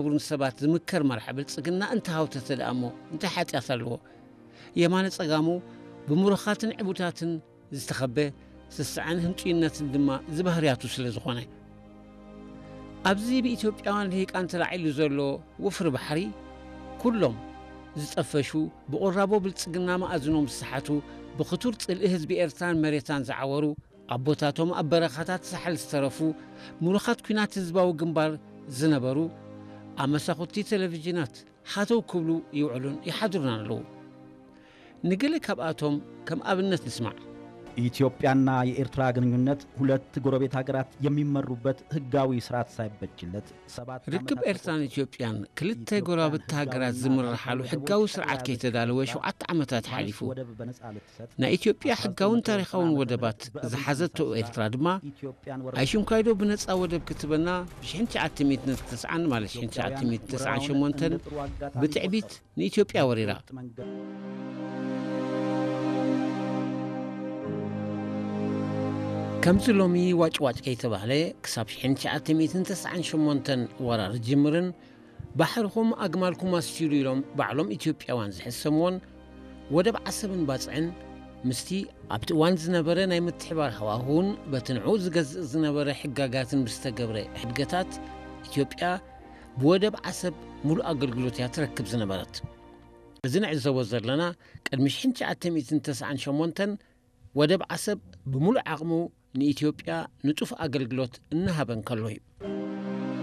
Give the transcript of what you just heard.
ዝነብሩን ሰባት ዝምከር መርሓ ብልጽግና እንተሃውተተ ደኣ እሞ እንታይ ሓጢኣት ኣለዎ? የማነ ጸጋሙ ብምሩኻትን ዕቡታትን ዝተኸበ ስስዐን ህንጡይነትን ድማ ዝባህርያቱ ስለ ዝኾነ። ኣብዚ ብኢትዮጵያውያን ልሂቃን ተላዒሉ ዘሎ ወፍሪ ባሕሪ ኩሎም ዝጠፈሹ ብቑራቦ ብልጽግና መኣዝኖም ዝሰሓቱ ብኽቱር ጽልኢ ህዝቢ ኤርትራን መሬታን ዝዓወሩ ኣቦታቶም ኣብ በረኻታት ሳሕል ዝተረፉ ምሩኻት ኲናት ህዝባዊ ግንባር ዝነበሩ ኣብ መሳኹቲ ቴሌቪዥናት ሃተው ክብሉ ይውዕሉን ይሓድሩን ኣለዉ። ንገለ ካብኣቶም ከም ኣብነት ንስማዕ። ኢትዮጵያና የኤርትራ ግንኙነት ሁለት ጎረቤት ሀገራት የሚመሩበት ህጋዊ ስርዓት ሳይበጅለት ሰባት ርክብ ኤርትራን ኢትዮጵያን ክልተ ጎረባብቲ ሃገራት ዝምርሓሉ ሕጋዊ ስርዓት ከይተዳለወ ሸውዓተ ዓመታት ሓሊፉ። ናይ ኢትዮጵያ ሕጋውን ታሪኻውን ወደባት ዝሓዘቶ ኤርትራ ድማ ኣይሽንኳይዶ ብነጻ ወደብ ክትበና ብ1990 ማለት 1998 ብትዕቢት ንኢትዮጵያ ወሪራ። ከምዚ ሎሚ ዋጭዋጭ ከይተባህለ ክሳብ 1998 ወራር ዝጅምርን ባሕርኹም ኣግማልኩም ኣስቲሉ ኢሎም ባዕሎም ኢትዮጵያውያን ዝሕሰምዎን ወደብ ዓሰብን ባጽዕን ምስቲ ኣብቲ እዋን ዝነበረ ናይ ምትሕባር ሃዋህውን በቲ ንዕኡ ዝገዝእ ዝነበረ ሕጋጋትን ብዝተገብረ ሕድገታት ኢትዮጵያ ብወደብ ዓሰብ ሙሉእ ኣገልግሎት እያ ትረክብ ዝነበረት። እዚ ንዕዘቦ ዘለና ቅድሚ 1998 ወደብ ዓሰብ ብምሉእ ዓቕሙ ንኢትዮጵያ ንጡፍ ኣገልግሎት እናሃበ እንከሎ እዩ።